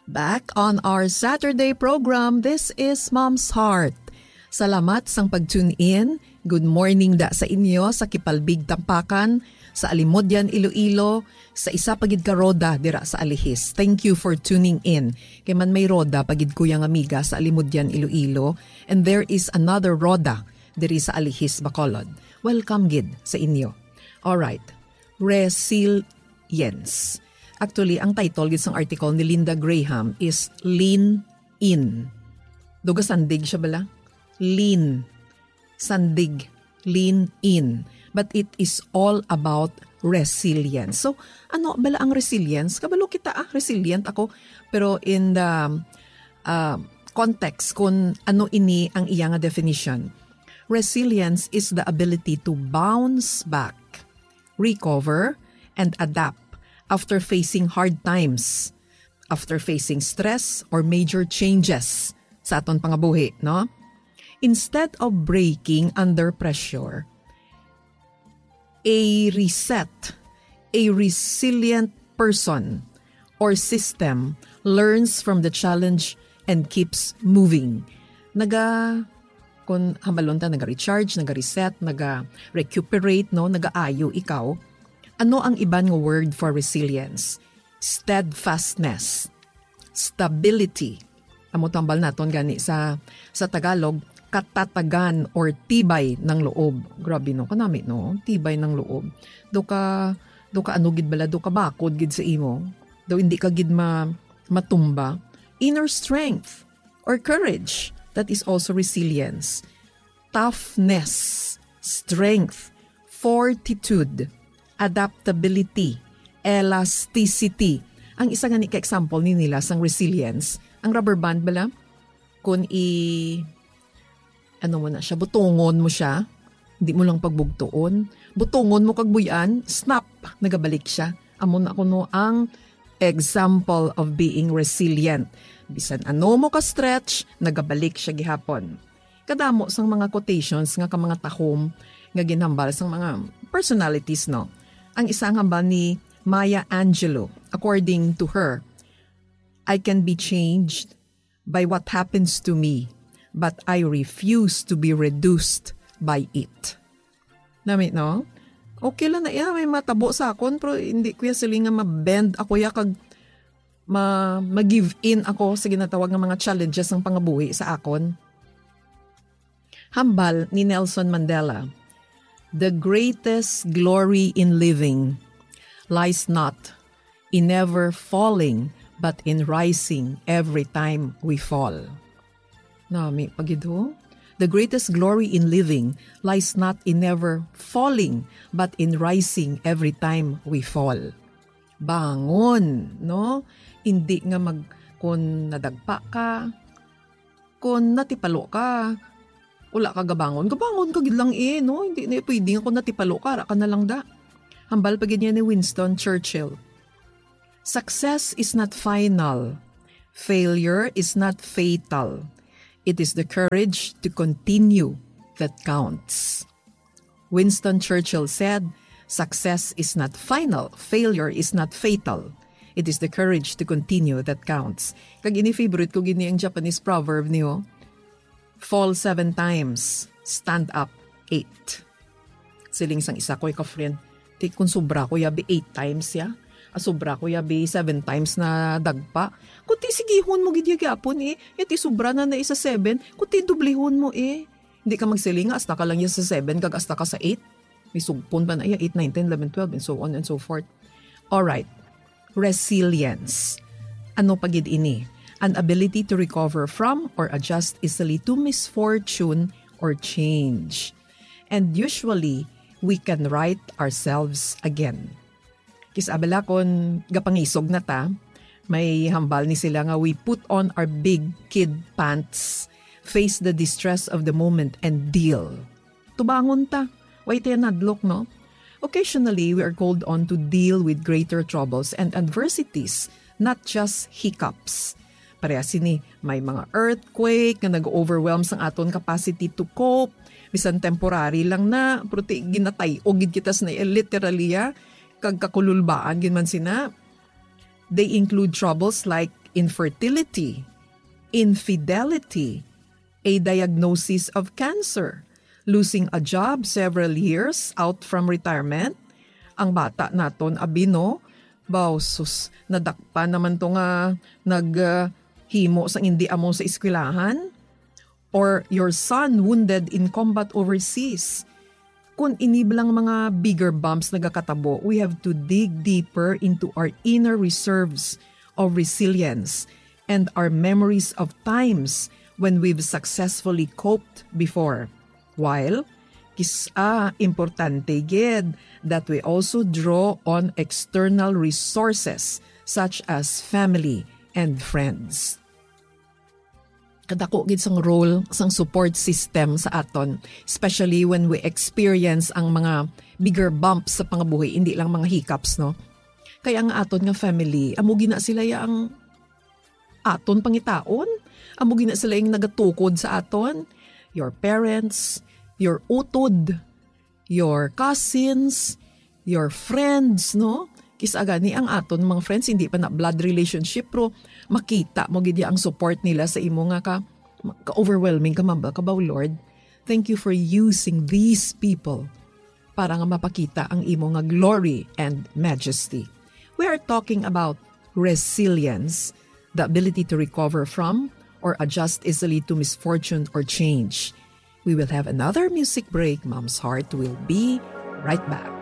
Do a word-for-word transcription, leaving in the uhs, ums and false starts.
Back on our Saturday program, this is Mom's Heart. Salamat sang pag-tune in. Good morning da sa inyo sa Kipalbig Tampakan, sa Alimodian, Iloilo, sa isa pa gid ka roda dira sa Alihis. Thank you for tuning in. Kay man may roda pa gid, kuya, nga amiga, sa Alimodian, Iloilo, and there is another roda diri sa Alihis, Bacolod. Welcome gid sa inyo. Alright. Resilience. Actually, ang title gid sang article ni Linda Graham is Lean In. Duga sandig siya bala? Lean. Sandig. Lean in. But it is all about resilience. So, ano bala ang resilience? Kabalo kita, ah, resilient ako. Pero in the, ah, context kung ano ini ang iya nga definition, resilience is the ability to bounce back, recover, and adapt after facing hard times, after facing stress or major changes sa aton pangabuhi, no? Instead of breaking under pressure, a reset, a resilient person or system learns from the challenge and keeps moving. Naga, kung hambalon ta, naga-recharge, naga-reset, naga-recuperate, no? Nagaayo ikaw. Ano ang iban nga word for resilience? Steadfastness. Stability. Amo tambal naton gani sa, sa Tagalog, katatagan or tibay ng loob. Grabe, no? Kanami, no? Tibay ng loob. Do ka, do ka ano gid bala, do ka bakod gid sa imo. Do hindi ka gid ma-, matumba. Inner strength or courage. That is also resilience. Toughness, strength, fortitude, adaptability, elasticity. Ang isa gani ka example ni nila sang resilience, ang rubber band bala, kung i-, ano mo na siya, butongon mo siya, di mo lang pagbugtuon, butongon mo kag buy-an, snap, nagabalik siya. Amo na kuno ang example of being resilient. Bisan ano mo ka-stretch, nagabalik siya gihapon. Kadamo sang mga quotations nga ka mga tahom nga ginhambal sang mga personalities, no? Ang isa ang hambal ni Maya Angelou, according to her, "I can be changed by what happens to me, but I refuse to be reduced by it." Nami, no? Okay lang na iya, may matabo sa akon, pero hindi ko ya sili nga ma-bend ako ya kag ma-, ma-give in ako sa ginatawag nga mga challenges ng pangabuhi sa akon. Hambal ni Nelson Mandela, "The greatest glory in living lies not in never falling, but in rising every time we fall." Nami pa gid, ho? "The greatest glory in living lies not in never falling, but in rising every time we fall." Bangon, no? Hindi nga mag-, kung nadagpa ka, kung natipalo ka, wala ka gabangon. Gabangon ka gid lang eh, no? Hindi na pwede nga kung natipalo ka, ara ka na lang da. Hambal pa gid niya ni Winston Churchill, "Success is not final. Failure is not fatal. It is the courage to continue that counts." Winston Churchill said, "Success is not final, failure is not fatal. It is the courage to continue that counts." Kag ini favorite ko gid ni ang Japanese proverb niyo, "Fall seven times, stand up eight." Siling sang isa ko ka friend, "Ti, kung sobra ko yabi eight times ya, ah, sobra ko yabi seven times na dagpa. Kuti sigihon mo gid ya gyapon eh. Yati sobra na na isa seven, kuti dublihon mo eh." Hindi ka magsiling nga hasta ka lang ya sa seven kag hasta ka sa eight. May sugpon pa na iya, eight, nine, ten, eleven, twelve, and so on and so forth. Alright. Resilience. Ano pa gid ini? An ability to recover from or adjust easily to misfortune or change. And usually, we can right ourselves again. Kis-a bala kon gapangisog na ta, may hambal ni sila nga we put on our big kid pants, face the distress of the moment, and deal. Tubangon ta. Way ta nadlok, no? Occasionally, we are called on to deal with greater troubles and adversities, not just hiccups. Pareha sini, may mga earthquake nga nag-overwhelm sang aton capacity to cope. Bisan temporary lang na, pero ti ginatay-og gid kita sa na, literally, ah, kag kakululbaan gid man sina. They include troubles like infertility, infidelity, a diagnosis of cancer, losing a job several years out from retirement. Ang bata naton, abi, no? Baw, sus, nadakpan naman to nga nag, ah, himo sang indi amo sa eskwelahan. Or your son wounded in combat overseas. Kung ini bala nga mga bigger bumps nagakatabo, we have to dig deeper into our inner reserves of resilience and our memories of times when we've successfully coped before. While, kis-a importante gid that we also draw on external resources such as family and friends. Kadako gid sang role sang support system sa aton, especially when we experience ang mga bigger bumps sa pangabuhi, hindi lang mga hiccups, no? Kay ang aton nga family, amo gina sila ya ang aton pangitaon, amo gina sila yung nagatukod sa aton, your parents, your utod, your cousins, your friends, no? Kis-a gani ang aton mga friends, hindi pa na blood relationship, pero makita mo gid ang support nila sa imo nga ka, ka-overwhelming ka, mamba ka ba, "Lord, thank you for using these people para nga mapakita ang imo nga glory and majesty." We are talking about resilience, the ability to recover from or adjust easily to misfortune or change. We will have another music break. Mom's Heart will be right back.